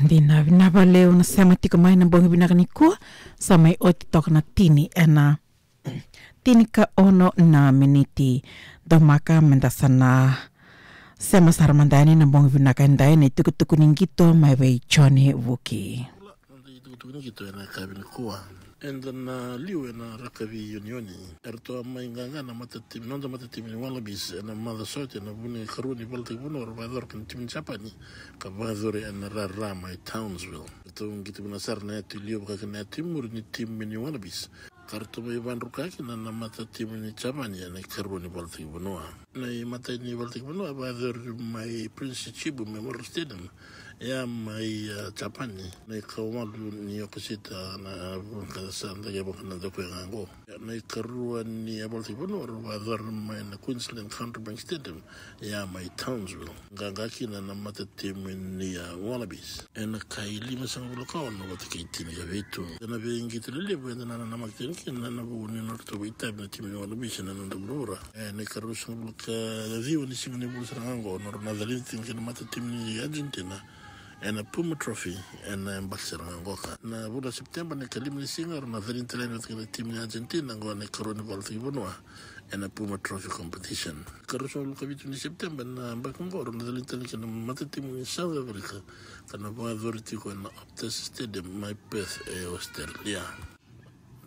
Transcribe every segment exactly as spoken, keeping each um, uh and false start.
Dina vinaka vakalevu na sema tiko mai na bogi vinaka nikua. Sa mai oti toka na tini ena tini ka ono na miniti. Domaka meda sa na sema sara mada yani na bogi vinaka edai, na itukutuku ni qito mai vei Joni Vuki. Noda itukutuku ni qito ena yakavi nikua. Eda na liu ena rakavi unioni. Eratou a mai qaqa na matatimi, noda matatimi ni Wallabies ena macawa sa oti ena vuku ni karua ni valataki vanua era vakayacora kei na timi ni Japani, ka vakayacori ena rara mai Townsville. Eratou qito vinaka sara na yatu i liu vaka kina na yatu i muri ni timi ni Wallabies, ka ratou mai vakadruka kina na matatimi ni Japani ena ikarua ni valataki vanua. Na imatai ni valataki vanua e vakayacori mai Prince Chichibu Memorial Stadium, ia mai, a, Japani, na ikawalu ni Okosita, na, a, vaka sa dake vaka na dako e ga oqo. Ia na ikarua ni, a, valataki vanua era vakayacora mai na Queensland Country Bank Stadium, ia mai Townsville, qaqa kina na matatimi ni, a, Wallabies ena kai limasagavulu ka ono vata kei tinikavitu. Ena veiqito lelevu eda na nanamaki tiko kina ena vuku ni nodratou vakaitavi na timi ni Wallabies ena noda vuravura. Ena ikaruasagavulu ka ciwa ni siga ni vula sara ga oqo, nodra na calini tiko kina na matatimi ni Argentina ena Puma Trophy ena yabaki sara ga oqo. Ka na vula o Sepiteba, na ikalima ni siga, era na calini tale yani vata kei na timi ni Argentina oqo ena ikarua ni valataki vanua ena Puma Trophy competition. Ikaruasagavulu ka vitu ni Sepiteba ena yabaki oqo, era na calini tale kina na matatimi ni South Africa, ka na vakayacori tiko ena Optus Stadium mai Perth e Australia.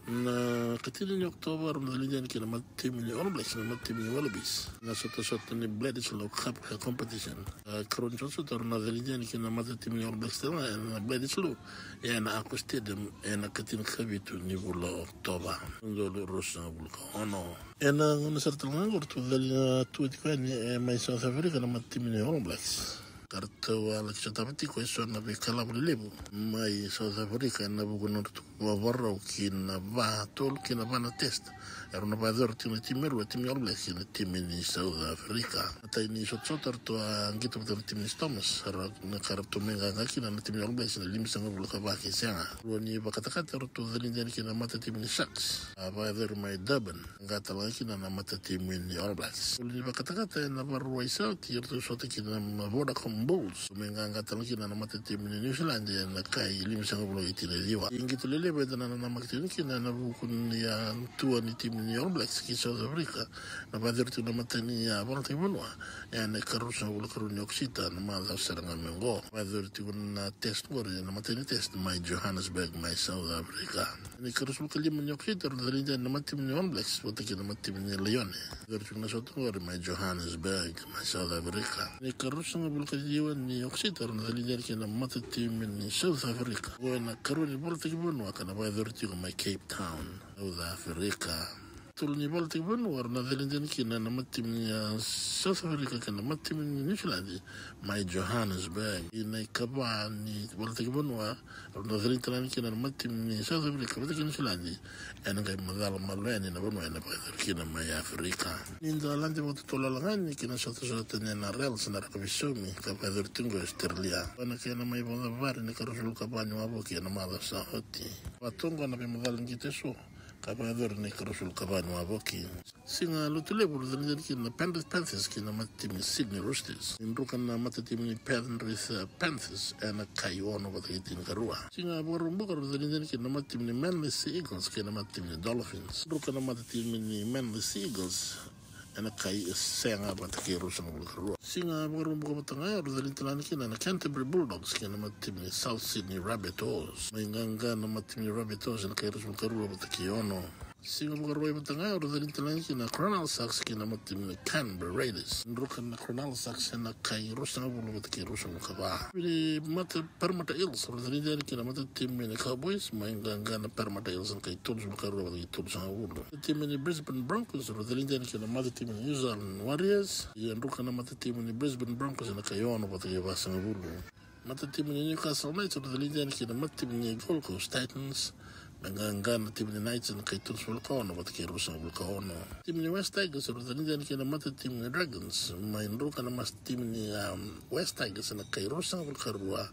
Na ikatini ni Okotova era na calini yani kina na matatimi ni All Blacks, na matatimi ni Wallabies, na sotasota ni Bledisloe Cup competition. A, ikarua ni sotasota era na calini yani kina na matatimi ni All Blacks tale ga ena Bledisloe, ena Accor Stadium, ena ikatini ka vitu ni vula o Okotova, na udolu ruasagavulu ka ono. Ena gauna sara tale ga oqo eratou calini, a, tu tiko yani, e, mai South Africa na matatimi ni All Blacks, ka ratou a laki sotava tiko eso na veikalavo lelevu mai South Africa ena vuku ni nodratou vakavakarau ki na va, tolu ki na va na test erau na vakayacora tiko na timi e rua, timi ni All Blacks kei na timi ni South Africa. Na imatai ni sotasota eratou a qito vata na timi ni Stormers, era, na ka ratou mai qaqa kina na timi ni All Blacks ena limasagavulu ka va kei sega. Rua ni vakatakata eratou calini yani kina na matatimi ni Sharks, a vakayacori mai Durban, qaqa tale ga kina na matatimi ni All Blacks. Tolu ni vakatakata ena Vakarauwai sa oti eratou sota kina na Vodacom Bulls, mai qaqa tale ga kina na matatimi ni New Zealand ena kai limasagavulu ka tinikaciwa. Iqito lelevu eda na nanamaki tiko kina ena vuku ni, a, tua ni timi ni All Blacks ki South Africa, na vakayacori tiko na imatai ni, a, valataki vanua ena ikaruasagavulu ka rua ni Okosita, na macawa sara ga mai oqo. Vakayacori tiko na test oqori, na imatai ni test mai Johannesburg mai South Africa. Ena ikaruasagavulu ka lima ni Okosita era na calini yani na matatimi ni All Blacks vata kei na matatimi ni Lions. Vakayacori tiko na sota oqori mai Johannesburg mai South Africa. Ena ikaruasagavulu ka ciwa ni Okosita era na calini yani kina na matatimi ni South Africa, oqo ena ikarua ni valataki vanua ka na vakayacori tiko mai Cape Town, South Africa. Tolu ni valataki vanua era na calini yani kina na matatimi ni, a, South Africa kei na matatimi ni New Zealand mai Johannesburg. Ena ikava ni valataki vanua era na calini tale yani kina na matatimi ni South Africa vata kei New Zealand ena qai macala malua yani na vanua ena vakayacori kina mai Africa. Ni da lade vakatotolo yani kina sotasota ni N R L, se na rakavi saumi, ka vakayacori tiko e Australia. Ena kena mai vakacavari na ikaruasagavulu ka va ni wavoki ena macawa sa oti. Vatoqa na veimacala ni qito eso ka vakayacori na ikaruasagavulu ka va ni wavoki. Siga Lotulevu era na calini yani kina na Penrith Panthers kei na matatimi ni Sydney Roosters. Ni druka na matatimi ni Penrith, e, Panthers ena kai ono vata kei tinikarua. Siga Vakaraubuka era na calini yani kina na matatimi ni Manly Sea Eagles kei na matatimi ni Dolphins. Druka na matatimi ni Manly Sea Eagles ena kai sega vata kei ruasagavulu ka rua. Siga Vakaraubuka vata ga era na calini tale yani kina na Canterbury Bulldogs kei na matatimi ni South Sydney Rabbitohs. Mai qaqa na matatimi ni Rabbitohs ena kai ruasagavulu ka rua vata kei ono. Siga Vakarauwai vata ga era na calini tale yani kina na Cronulla Sharks kei na matatimi ni Canberra Raiders. Druka na Cronulla Sharks ena kai ruasagavulu vata kei ruasagavulu ka va. Vei na mata Parramatta Eels era na calini yani kina na matatimi ni Cowboys, mai qaqa na Parramatta Eels ena kai tolusagavulu ka rua vata kei tolusagavulu. Matatimi ni Brisbane Broncos era na calini yani kina na matatimi ni New Zealand Warriors. Ia druka na matatimi ni Brisbane Broncos ena kai ono vata kei vasagavulu. Matatimi ni Newcastle Knights era na calini yani kina na matatimi ni Gold Coast Titans, Na qaqa na timi ni Knights ena kai tolusagavulu ka ono vata kei ruasagavulu ka ono. Timi ni West Tigers era calidi yani kei na matatimi ni Dragons, mai druka na matatimi ni, um, West Tigers ena kai ruasagavulu ka rua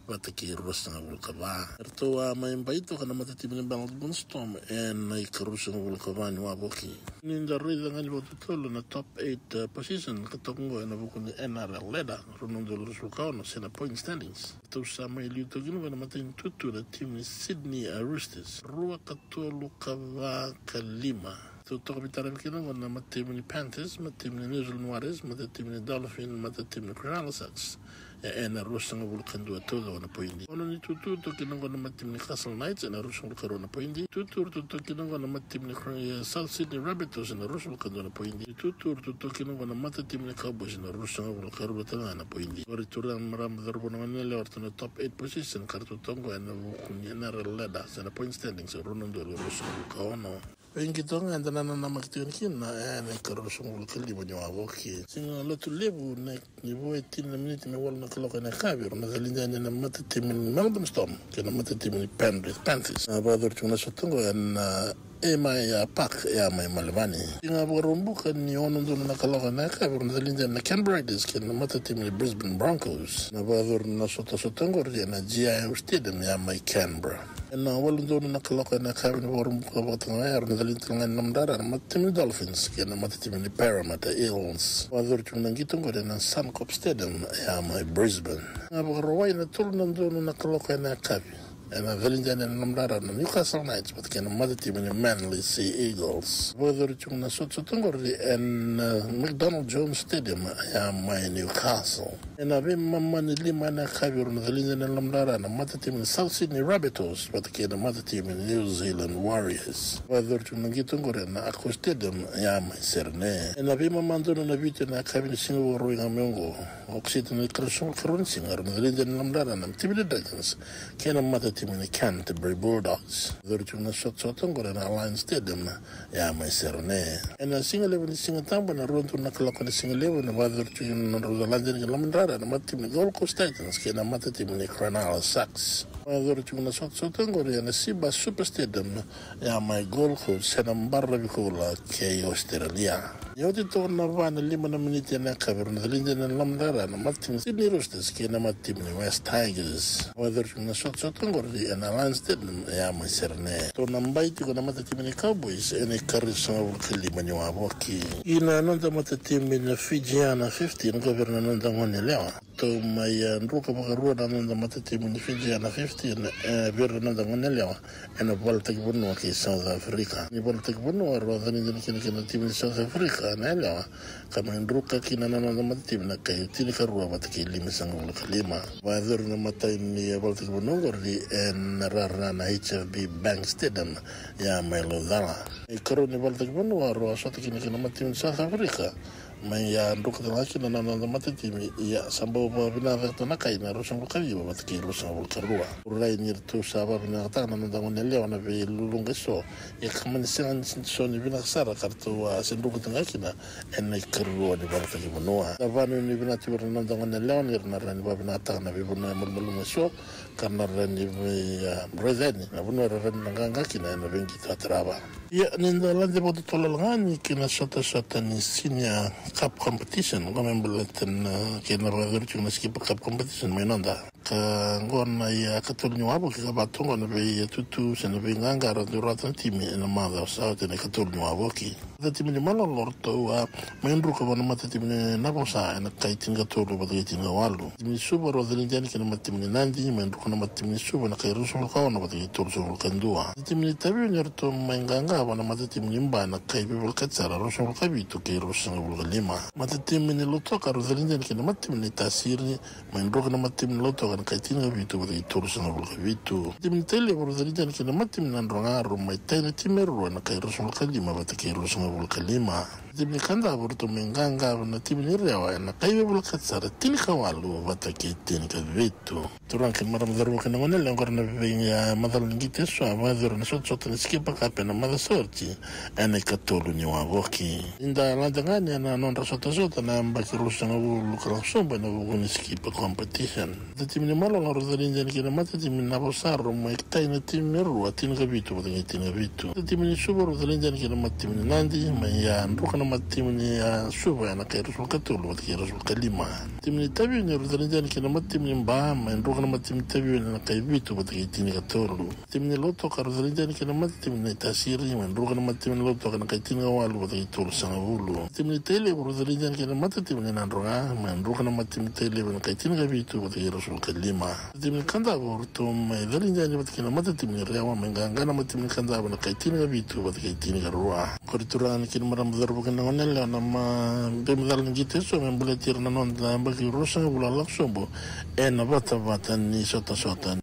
vata kei ruasagavulu ka va. Eratou a mai bai toka na matatimi ni Melbourne Storm ena ika ruasagavulu ka va ni wavoki. Ni da raica ga ni vakatotolo na top eight, uh, position ka toka qo ena vuku ni N R L ladder, rua na udolu ruasagavulu ka ono se na point standings. Eratou sa mai liu toka kina qo ena matai ni tutu na timi ni Sydney, uh, Roosters, rua ka tolu ka va ka lima. Eratou toka veitaravi kina qo na matatimi ni Panthers, matatimi ni New Zealand Warriors, matatimi ni Dolphins, matatimi ni Cronulla Sharks. E, ena ruasagavulu ka dua taucoko na poidi. Ono ni tutu toka kina qo na matatimi ni Castle Knights ena ruasagavulu ka rua na poidi. Tutu eratou toka kina qo na matatimi ni Cro-, e, South Sydney Rabbitohs ena ruasagavulu ka dua na poidi. Tutu eratou toka kina qo na matatimi ni Cowboys ena ruasagavulu ka rua tale ga na poidi. Qori tu na marama cauravou na goneyalewa eratou na top eight position ka ratou toka qo ena vuku ni N R L ladder se na point standings, rua na udolu ruasagavulu ka ono. Vei qito ga eda na nanamaki tiko yani kina ena ika ruasagavulu ka lima ni wavoki. Siga Lotulevu, na, ni vo e tini na miniti me walu na kaloko ena yakavi, era na calidi yani na matatimi ni Melbourne Storm kei na matatimi ni Penrith Panthers. Na vakayacori tiko na sota qo ena, e, Airmile Park, e, mai Melbourne. Siga Vakaraubuka, ni ono donu na kaloko ena yakavi, era na calidi yani na Canberra Raiders kei na matatimi ni Brisbane Broncos. Na vakayacori na sotasota qori ena G I O Stadium, e, mai Canberra. Ena walu donu na kaloko ena yakavi ni Vakaraubuka vakatagane, era na calidi tale ga yani na lomadrara na matatimi ni Dolphins kei na matatimi ni Parramatta Eels. Vakayacori tiko na qito qori ena Suncorp Stadium, e, mai Brisbane. Na Vakarauwai, na tolu na donu na kaloko ena yakavi, era na calidi yani na lomadrara na Newcastle Knights vata kei na matatimi ni Manly Sea Eagles. Vakayacori tiko na sotasota qori ena, uh, McDonald Jones Stadium, e, mai Newcastle. Ena veimama ni lima ena yakavi, era na calidi yani na lomadrara na matatimi ni South Sydney Rabbitohs vata kei na matatimi ni New Zealand Warriors. Vakayacori tiko na qito qori ena Accor Stadium, e, mai Sydney. Ena veimama donu na vitu ena yakavi ni siga Vakarauwai ga mai oqo, Okosita na ika ruasagavulu ka rua ni siga, era na calidi yani na lomadrara na timi ni Dragons kei na matatimi ni Canterbury Bulldogs. Vakayacori tiko na sotasota qori ena Allianz Stadium, e, mai Sydney. Ena sigalevu ni Sigatabu, ena rua donu na kaloko ena sigalevu, ena vakayacori tiko na nodrau caladi yani ki na lomadrara na matatimi ni Gold Coast Titans kei na matatimi ni Cronulla Sharks. Vakayacori tiko na sotasota qori ena Cbus Super Stadium, e, mai Gold Coast, ena baravi koula kei Australia. Ni oti toka na va na lima na miniti ena yakavi, era na calidi yani na lomadrara na matatimi ni Sydney Roosters kei na matatimi ni West Tigers. Vakayacori tiko na sotasota qori ena Allianz Stadium, e, mai Sydney. Eratou na bai tiko na matatimi ni Cowboys ena ika ruasagavulu ka lima ni wavoki. Ia na noda matatimi na Fijiana fifteen, qo vei ira na noda goneyalewa. Eratou mai, e, druka vakarua na noda matatimi ni Fijiana fifteen, e, vei ira na noda goneyalewa ena valataki vanua kei South Africa. Ni valataki vanua, rau calidi yani kina kei na timi ni South Africa na yalewa, ka mai druka kina na noda matatimi ena kai tinikarua vata kei limasagavulu ka lima. Vakayacori na imatai ni valataki vanua qori ena rara na H F B Bank Stadium, e, mai Laucala. Na ikarua ni valataki vanua, rau a sota kina kei na matatimi ni South Africa, mai, a, druka tale ga kina na noda matatimi, ia sa bau vakavinakataka na kai ena ruasagavulu ka ciwa vata kei ruasagavulu ka rua. Au rai ni ratou sa vakavinakataka na noda goneyalewa na veiluluqa eso, ia ka mani sega ni so ni vinaka sara ka ratou a se druka tale ga kina ena ikarua ni valataki vanua. Na vakanuinui vinaka tu vei ira na noda goneyalewa ni ra na rawa ni vakavinakataka na veivanua e malumalumu eso, ka ra na rawa ni vei, a, raica yani na vanua era rawa ni na qaqa kina ena veiqito a tarava. Ia, ni da lade vakatotolo ga yani ki na sotasota ni Senior Cup Competition, qo me baleta na, kei na vakayacori tiko na Skipper Cup Competition mai noda. Ka qo na, ia, ikatolu ni wavoki ka va tu qo na veitutu se na veiqaqa ra dau rawata na timi ena macawa sa oti, na ikatolu ni wavoki. Na timi ni Malolo ratou a mai druka vua na matatimi ni Navosa ena kai tinikatolu vata kei tinikawalu. Timi ni Suva rau calidi yani kei na matatimi ni Nadi, mai druka na matatimi ni Suva ena kai ruasagavulu ka ono vata kei tolusagavulu ka dua. Na timi ni Taveuni ratou mai qaqa vua na matatimi ni Ba ena kai veivolekati sara, ruasagavulu ka vitu kei ruasagavulu ka lima. Matatimi ni Lautoka rau calidi yani kei na matatimi ni Tasiri, mai druka na matatimi ni Lautoka ena kai tinikavitu vata kei tolusagavulu ka vitu. Timi ni Tailevu rau calidi yani kei na matatimi ni Nadroga, rau mai tai na timi e rua ena kai ruasagavulu ka lima vata kei ruasagavulu ka lima. Timi ni Kadavu ratou mai qaqava na timi ni Rewa ena kai veivolekati sara tinikawalu vata kei tinikavitu. Turaga kei na marama, cauravou kei na goneyalewa, oqori na vei, a, macala ni qito eso a vakayacori ena sotasota ni Skipper Cup ena macawa sa oti ena ikatolu ni wavoki. Ni da lade ga yani ena nodra sotasota na yabaki ruasagavulu ka lako sobu ena vuku ni Skipper Competition. Matatimi ni Malolo rau calidi yani kei na matatimi ni Navasaro mai tai na timi e rua, tinikavitu vata kei tinikavitu. Matatimi ni Suva rau calidi yani kei na matatimi ni Nadi, mai a druka na matatimi ni, a, Suva ena kai ruasagavulu ka tolu vata kei ruasagavulu ka lima. Timi ni Taveuni rau calidi yani kei na matatimi ni Ba, mai druka na matatimi ni Taveuni ena kai vitu vata kei tinikatolu. Timi ni Lautoka rau calidi yani kei na matatimi ni Tasiri, mai druka na matatimi ni Lautoka ena kai tinikawalu vata kei tolusagavulu. Timi ni Tailevu rau calidi yani kei na matatimi ni Nadroga, mai druka na matatimi ni Tailevu ena kai tinikavitu vata kei ruasagavulu ka lima. Timi ni Kadavu ratou mai calidi yani vata kei na matatimi ni Rewa, mai qaqa na matatimi ni Kadavu ena kai tinikavitu vata kei tinikarua. Oqori, turaga kei na marama, cauravou kei na goneyalewa, na ma-, vei macala ni qito eso me baleti ira na noda yabaki ruasagavulu a lako sobu ena vatavata ni sotasota.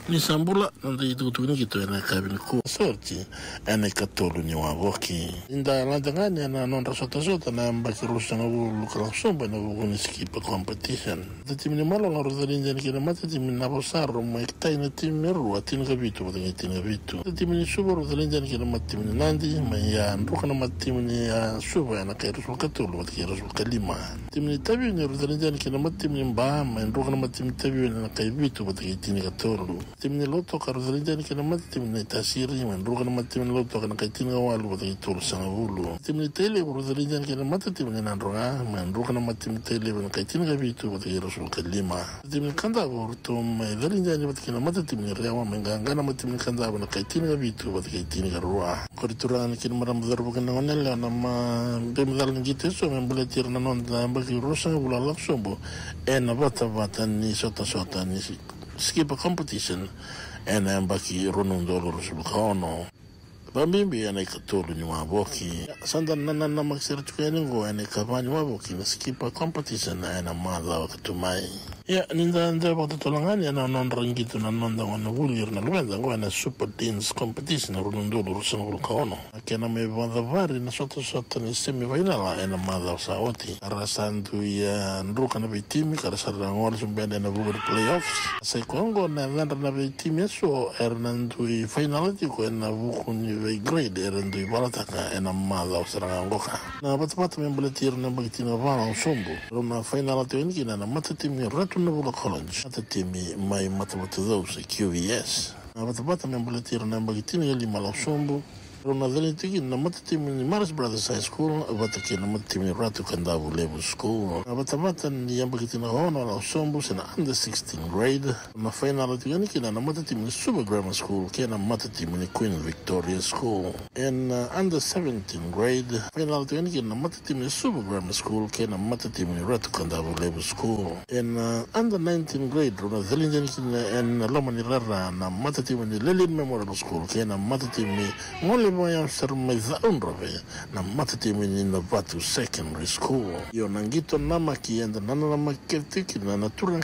Ni sa bula, noda itukutuku ni qito ena yakavi nikua sa oti ena ikatolu ni wavoki. Ni da lade ga yani ena nodra sotasota na yabaki ruasagavulu ka lako sobu ena vuku ni Skipper Competition. Matatimi ni Malolo rau calidi yani kei na matatimi ni Navasaro mai tai na timi e rua, tinikavitu vata kei tinikavitu. Matatimi ni Suva rau calidi yani kei na matatimi ni Nadi, mai a druka na matatimi ni, a, Suva ena kai ruasagavulu ka tolu vata kei ruasagavulu ka lima. Timi ni Taveuni rau calidi yani kei na matatimi ni Ba, mai druka na matatimi ni Taveuni ena kai vitu vata kei tinikatolu. Timi ni Lautoka rau calidi yani kei na matatimi ni Tasiri, mai druka na matatimi ni Lautoka ena kai tinikawalu vata kei tolusagavulu. Timi ni Tailevu rau calidi yani kei na matatimi ni Nadroga, mai druka na matatimi ni Tailevu ena kai tinikavitu vata kei ruasagavulu ka lima. Timi ni Kadavu ratou mai calidi yani vata kei na matatimi ni Rewa, mai qaqa na matatimi ni Kadavu ena kai tinikavitu vata kei tinikarua. Oqori, turaga kei na marama, cauravou kei na goneyalewa, na ma-, vei macala ni qito eso me baleti ira na noda yabaki ruasagavulu a lako sobu ena vatavata ni sotasota ni Skipper Competition ena yabaki rua na udolu ruasagavulu ka ono, vakabibi ena ikatolu ni wavoki. Sa da na nanamaki sara tiko yani oqo ena ikava ni wavoki na Skipper Competition ena macawa ka tu mai. Ia, ni da dau vakatotolo ga yani ena nodra qito na noda gonevuli ira na luveda oqo ena Super Deans Competition rua na udolu ruasagavulu ka ono. Na kena mai vakacavari na sotasota ni semifinal ena macawa sa oti, era sa dui, e, druka na veitimi ka ra sa ra gole sobu yani ena vuku ni playoffs. Sa i koya oqo na yacadra na veitimi eso era na dui final tiko ena vuku ni veigrade era dui valataka ena macawa sara ga oqo. Na vatavata me baleti ira na yabaki tinikava a lako sobu, rau na final tiko yani kina na matatimi ni Ratu Navula College, matatimi mai Matavatucau se Q V S. Na vatavata me baleti ira na yabaki tinikalima a lako sobu, rau na calidi tiko kina na matatimi ni Maris Brothers High School vata kei na matatimi ni Ratu Kadavulevu School. Na vatavata ni yabaki tinikaono a lako sobu se na under sixteen grade, rau na final tiko yani kina na matatimi ni Suva Grammar School kei na matatimi ni Queen Victoria School. Ena, uh, under seventeen grade, final tiko yani kina na matatimi ni Suva Grammar School kei na matatimi ni Ratu Kadavulevu School. Ena, uh, under nineteen grade, rau na calidi yani kina ena loma ni rara na matatimi ni Lelean Memorial School kei na matatimi, gole vakayawa sara mai Cakaudrove, na matatimi ni Navatu Secondary School. Io, na qito namaki eda na nanamaki kece tiko kina na turaga